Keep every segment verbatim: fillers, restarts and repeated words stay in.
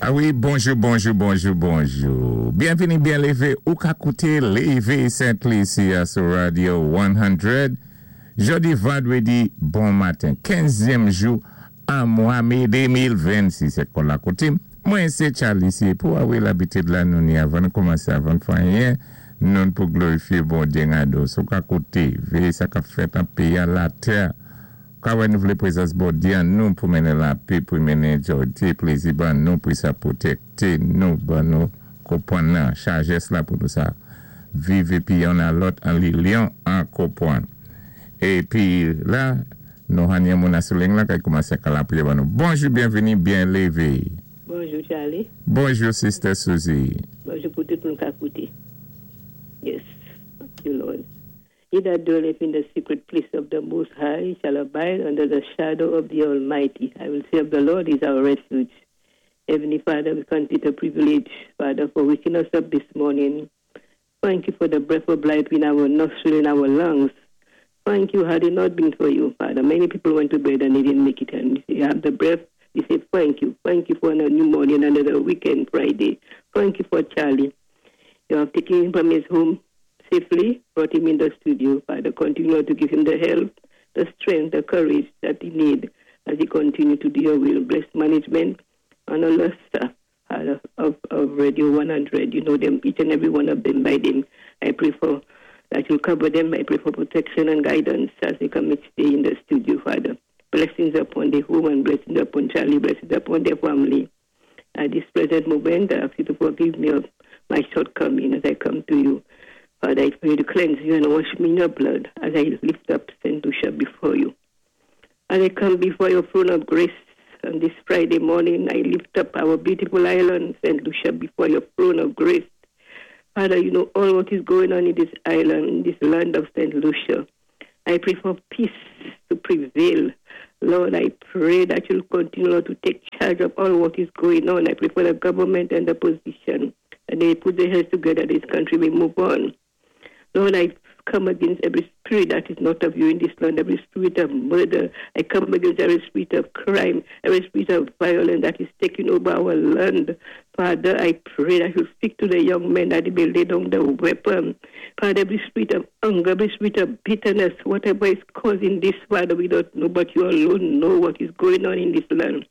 A wi, bonjou, bonjou, bonjou, bonjou. Byenvini, byen lévé. Ou ka kouté Lévé Sent-Lisi sou Radio san. Jòdi vandwédi, bon maten. kenzyèm jou an mwa mé de mil vennsis. Sé kon lakoutim. Mwen, sé Charlie ici. Pou a wi labitid la nou ni avan nou koumansé, avan fè anyen, nou pou glorifié Bondyé gado. Sou ka kouté, véyé sa k-ap fèt an péyi an latè. Ka nou vlé prézans Bondyé an nou pou mennen lapè, pou mennen jwa, plézi ban nou, pou sa pwotékté nou, ban nou konpwann nan, sajès la pou nou sa viv épi youn a lòt an linyon, an konpwann. Épi la, nou genyen moun sou liy la ki koumansé ka lapriyè ban nou. Bonjou, byenvini, byen lévé. Bonjou, Charlie. Bonjou, Sister Susie. Bonjou pou tout moun k ap kouté. Yes, thank you, Lord. He that dwelleth in the secret place of the Most High shall abide under the shadow of the Almighty. I will say of the Lord is our refuge. Heavenly Father, we consider privilege, Father, for waking us up this morning. Thank you for the breath of life in our nostril, in our lungs. Thank you. Had it not been for you, Father, many people went to bed and they didn't make it. And you have the breath. We say thank you. Thank you for a new morning, another weekend, Friday. Thank you for Charlie. You have taken him from his home safely, brought him in the studio. Father, continue to give him the help, the strength, the courage that he needs as he continue to do your will. Bless management and all the staff, Father, of, of Radio one hundred. You know them, each and every one of them by name. I pray for that you'll cover them. I pray for protection and guidance as they come each day in the studio, Father. Blessings upon the home and blessings upon Charlie, blessings upon their family. At this present moment, I ask you to forgive me of my shortcoming as I come to you. Father, I pray to cleanse you and wash me in your blood as I lift up Saint Lucia before you. As I come before your throne of grace on this Friday morning, I lift up our beautiful island, Saint Lucia, before your throne of grace. Father, you know all what is going on in this island, in this land of Saint Lucia. I pray for peace to prevail. Lord, I pray that you'll continue, Lord, to take charge of all what is going on. I pray for the government and the opposition, and they put their heads together, this country may move on. Lord, I come against every spirit that is not of you in this land, every spirit of murder. I come against every spirit of crime, every spirit of violence that is taking over our land. Father, I pray that you speak to the young men that they may lay down the weapon. Father, every spirit of anger, every spirit of bitterness, whatever is causing this, Father, we don't know, but you alone know what is going on in this land.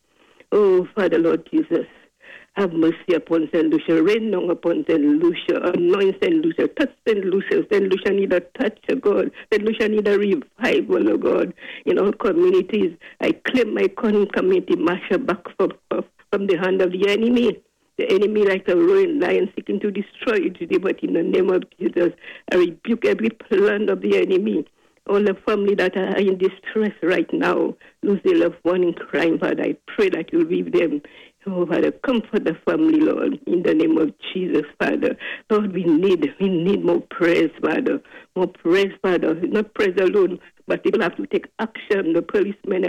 Oh, Father, Lord Jesus, have mercy upon Saint Lucia. Rain down upon Saint Lucia. Anoint Saint Lucia. Touch Saint Lucia. Saint Lucia need a touch of God. Saint Lucia need a revival, oh God. In all communities, I claim my community, Masha, back from, from the hand of the enemy. The enemy, like a roaring lion, seeking to destroy it today, but in the name of Jesus, I rebuke every plan of the enemy. All the family that are in distress right now, lose their loved one in crime, Father, I pray that you'll be with them. Oh, Father, comfort the family, Lord, in the name of Jesus, Father. Lord, we need, we need more prayers, Father. More prayers, Father. Not prayers alone, but people have to take action. The policemen,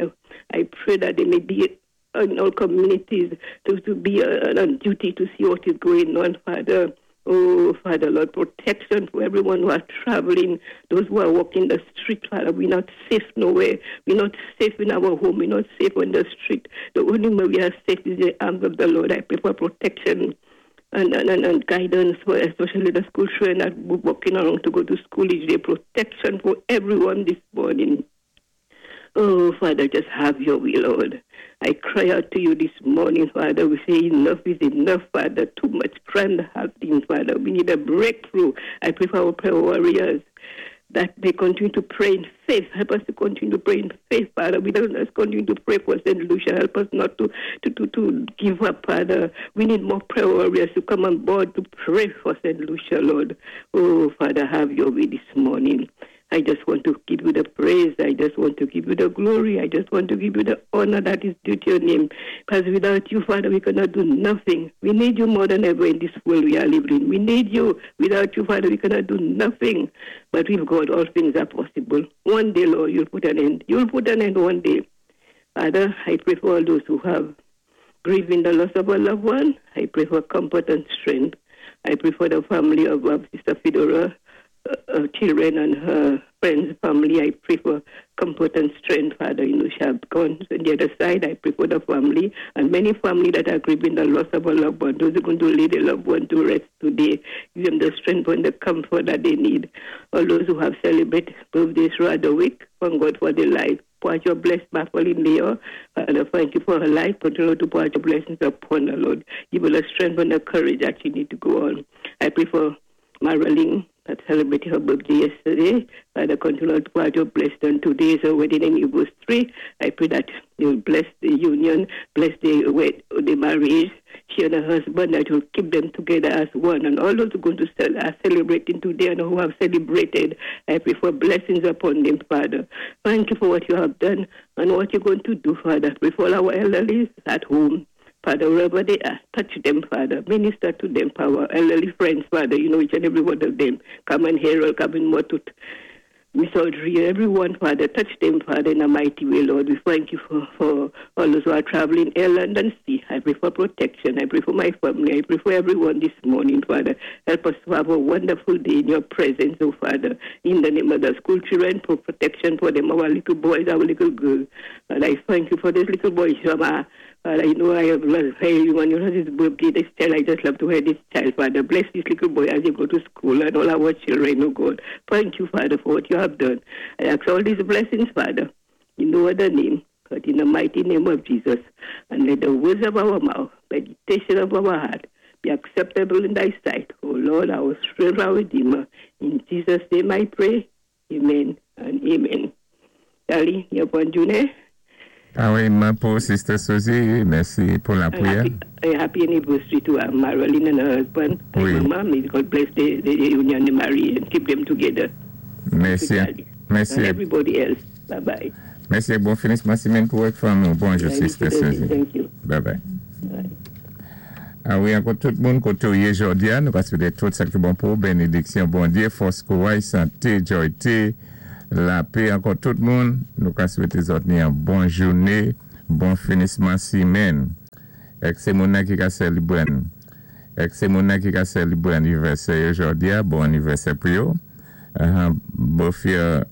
I, I pray that they may be in all communities to, to be uh, on duty to see what is going on, Father. Oh, Father, Lord, protection for everyone who are traveling, those who are walking the street, Father. We're not safe nowhere. We're not safe in our home. We're not safe on the street. The only way we are safe is the arms of the Lord. I pray for protection and, and, and, and guidance for especially the school children that walking around to go to school each day. Protection for everyone this morning. Oh, Father, just have your will, Lord. I cry out to you this morning, Father. We say enough is enough, Father. Too much crime happening, Father. We need a breakthrough. I pray for our prayer warriors that they continue to pray in faith. Help us to continue to pray in faith, Father. We don't just continue to pray for Saint Lucia. Help us not to, to, to, to give up, Father. We need more prayer warriors to come on board to pray for Saint Lucia, Lord. Oh, Father, have your way this morning. I just want to give you the praise. I just want to give you the glory. I just want to give you the honor that is due to your name. Because without you, Father, we cannot do nothing. We need you more than ever in this world we are living in. We need you. Without you, Father, we cannot do nothing. But with God, all things are possible. One day, Lord, you'll put an end. You'll put an end one day. Father, I pray for all those who have grieving the loss of a loved one. I pray for comfort and strength. I pray for the family of, of Sister Fedora. uh, children and her friends, family. I pray for comfort and strength, Father. You know, she have gone on the other side. I pray for the family and many family that are grieving the loss of a loved one. Those who are going to lay their loved one to rest today. Give them the strength and the comfort that they need. All those who have celebrated birthdays throughout the week, thank God for their life. Pour out your blessing, Pauline Mayor. Father, thank you for her life. Continue to pour out your blessings upon her, Lord. Give her the strength and the courage that she need to go on. I pray for Marilyn that celebrated her birthday yesterday. Father, continue to pour out your blessing. And today is her wedding anniversary. I pray that you will bless the union, bless the, wed- the marriage, she and her husband, that will keep them together as one. And all those who are going to cel- are celebrating today and who have celebrated, I pray for blessings upon them, Father. Thank you for what you have done and what you're going to do, Father. Pray for all our elderly at home. Father, wherever they are, touch them, Father. Minister to them, our elderly friends, Father. You know each and every one of them. Come and Harold, come and Motut. Miss Audrey, everyone, Father, touch them, Father, in a mighty way, Lord. We thank you for, for all those who are traveling air, land, and sea. I pray for protection. I pray for my family. I pray for everyone this morning, Father. Help us to have a wonderful day in your presence, oh Father. In the name of the school children, for protection for them, our little boys, our little girls. And I thank you for this little boy, Shama. Father, you know I have loved everyone. You know this birthday, this child. I just love to hear this child, Father. Bless this little boy as he go to school and all our children, oh God. Thank you, Father, for what you have done. I ask all these blessings, Father, in no other name, but in the mighty name of Jesus. And let the words of our mouth, meditation of our heart, be acceptable in thy sight. O Lord, our strength, our Redeemer. In Jesus' name I pray. Amen and amen. Dali, bonn jounen. Pareillement pour Sister Susie. Mèsi pou la And priyè. happy, a happy anniversary to uh, Marilyn and her husband. and Wi. Mama. May God bless the, the union, the marriage, and keep them together. Mèsi. Dali. Mèsi. And everybody else. Bye bye. Mèsi. Bon finisman simenn pou fanmi. Bonjou, Sister Susie. Thank you. Bye bye. Bye. A wi, ankò tout moun koté ou yé jòdi a, nou ka swété tout sa ki bon pou bénédiksyon, Bondyé, fòs, kouwaj, santé, jwayté, lapè, ankò tout moun, nou ka swété zòt ni yon bon jounen, bon finisman simenn. Èk sé moun nan ki ka sélébwé. Èk sé moun nan ki ka sélébwé anivèsè jòdi a, bon anivèsè pou yo. Uh, both your